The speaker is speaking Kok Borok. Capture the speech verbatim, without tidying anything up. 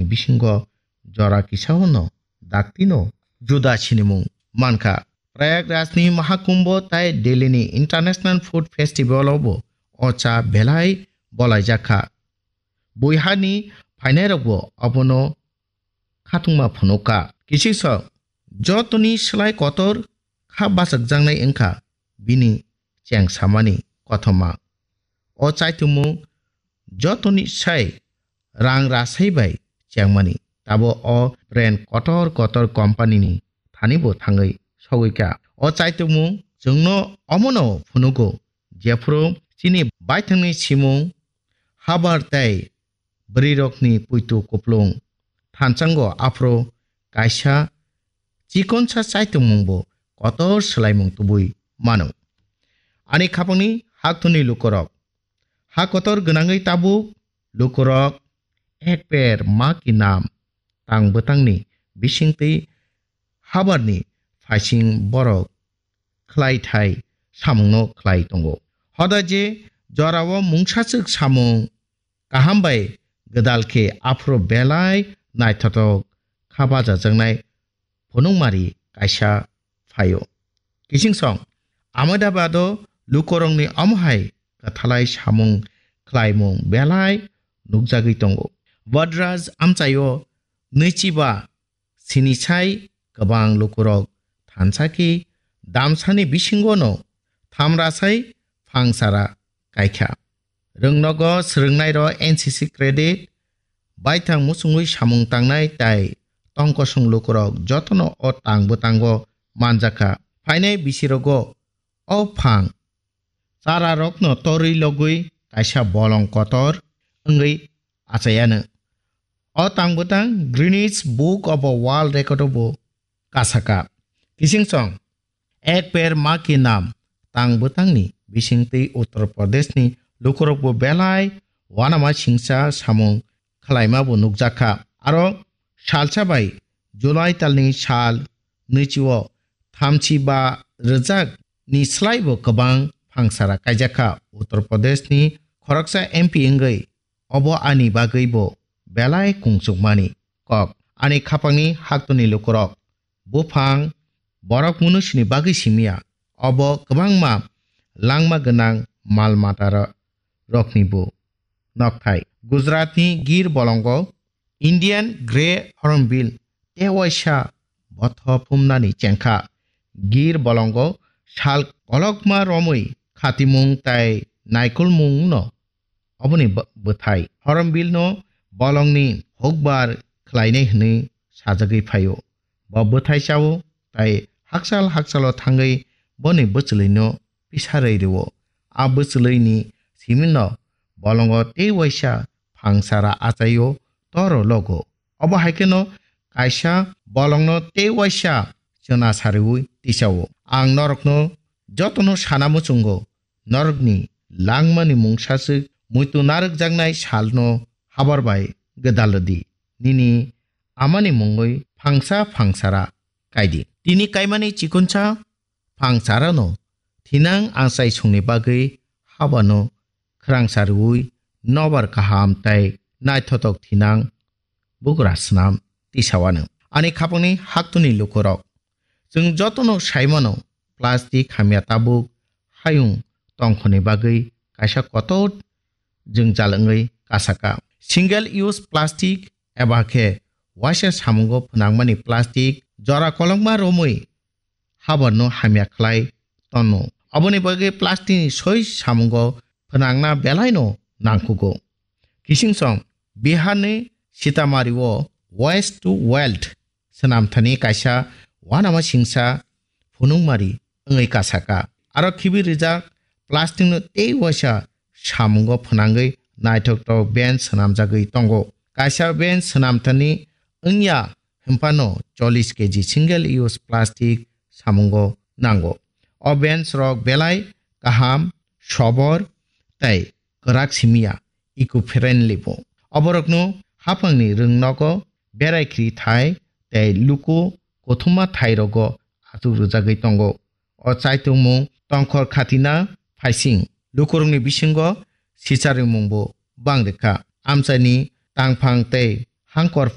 bisingo jora kisao no daktino juda sinimung mankha. Prayagrajni Mahakumbho tai Delhini International Food Festival o bo o cha belai bolaijak kha. Buihani phainairokbo abono khatungma phunukha. Kisiksa jotoni slai kotor kha bachakjaknai wngkha bini chengsamani kothoma. O chaitumung jotoni sai rang rasai bai chengmani. Tabo o brand kotor kotor company ni thani bo thangwi sogwi kha. O chaitumung chwngno omono phunugo, jephuru chini baithangni simung habar tei bwrwirokni puitu kuplung thansango, aphuru kaisa chikonsa chaitumungbo kotor swlaimung tubui mano. Ani khapangni haktorni lukurok, ha kotor gwnangwi tabuk lukurok ek per ma ki nam tang bwtangni bisingtwi habarni phaising borok khlai thai samungno khlai tongo. Hoda je jorao mungsachwk samung kaham bai gwdal khe aphuru belai naithothok kha bachajaknai phunukmari kaisa phaio. Kichingsong Ahmedabado lukurokni omohai kwthalai samung khlaimung belai nukjagwi tongo. Vadraj amchaio nwichiba sinisai kwbang lukurok thansa khe damsani bisingono thamrasai phangsara kaikha. Rwngnogo swrwngnairo N C C credit, baithang muchungwi samung tangnai tai tongkosong lukurok jotono o tang bwtango manjakha. Phainai bisirogo o phang chararokno torwi logwi kaisa bolong kotor wngwi achaiano. O tang bwtang Guinness Book of World Record o bo kasaka. Kichingsong ek per ma ki nam tang bwtangni bisingtwi Uttar Pradesh ni lukurokbo belai wanama singcha samung khlaima bo nukjakha. Aro salsa bai July talni sal nwichio thamchi ba rwjak ni slai bo kwbang phangsara kaijakha. Uttar Pradesh ni khoroksa M P wngwi obo ani bagwi bo belai kungchukmani kok. Ani khapangni haktorni lukurok buphang borok munusini bagwi simiya, obo kwbangma langma gwnang mal mata ro-, rokni bo nokthai. Gujaratni Gir bolongo Indian Grey Hornbill tei waisa botho phumnani chengkha. Gir bolongo sal kolokma romwi khatimung tai naikolmungno oboni bw-, bwthai. Hornbill no bolongni hukbar khlainai hwnwi sajagwi phaio. Bo bwthai chao tai hakchal hakchalo thangwi boni bwchwlwino pisarwi rwo. A bwchwlwini simino bolongo tei waisa phangsara achaio toro logo. Obo hai kheno kaisa bolongno tei waisa chwna sariwi tisao. Ang norokno jotono sana muchungo, norokni langmani mungsaswk muitu narwkjaknai salno habar bai gwdal rwdi. Nini amani mungwi phangsa phangsara kaidi. Tini kaimani chikonsa phangsarano thinang achaisongni bagwi habano khwrangsa rwui nobar kaham tai naithotok thinang bugra snam tisawano. Ani khapangni haktorni lukurok, chwng jotono saimano plastic hamya tabuk hayung tongkhorni bagwi kaisa kotor jwngjal wngwi kasaka. Single use plastic eba khe waisa samungo phwnangmani plastic jora kolokma romwi habarno hamya khlai tonno. Aboni bagwi plastic ni soi samungo phwnangna belaino nangkhugo. Kichingsong Biharni Sitamarhi o Waste to Wealth swnamthani kaisa wanama singsa phunukmari wngwi kasaka. Aro khibi rijak plastic no tei waisa samungo phwnangwi naithoktok bench swnamjagwi tongo. Kaisa bench swnamthani wngya hwnphano chollish K G single use plastic samungo nango. O bench rok belai kaham, sobor tei kwrak simiya, eco-friendly bo. Oborokno haphangni rwngnogo berai khri thai tei luku kothoma thairogo achuk rwjagwi tongo. O chaitungmung tongkhor khatina phaising lukurokni bisingo sicharimungbo bang rwkha. Amchaini tangphang tei hangkor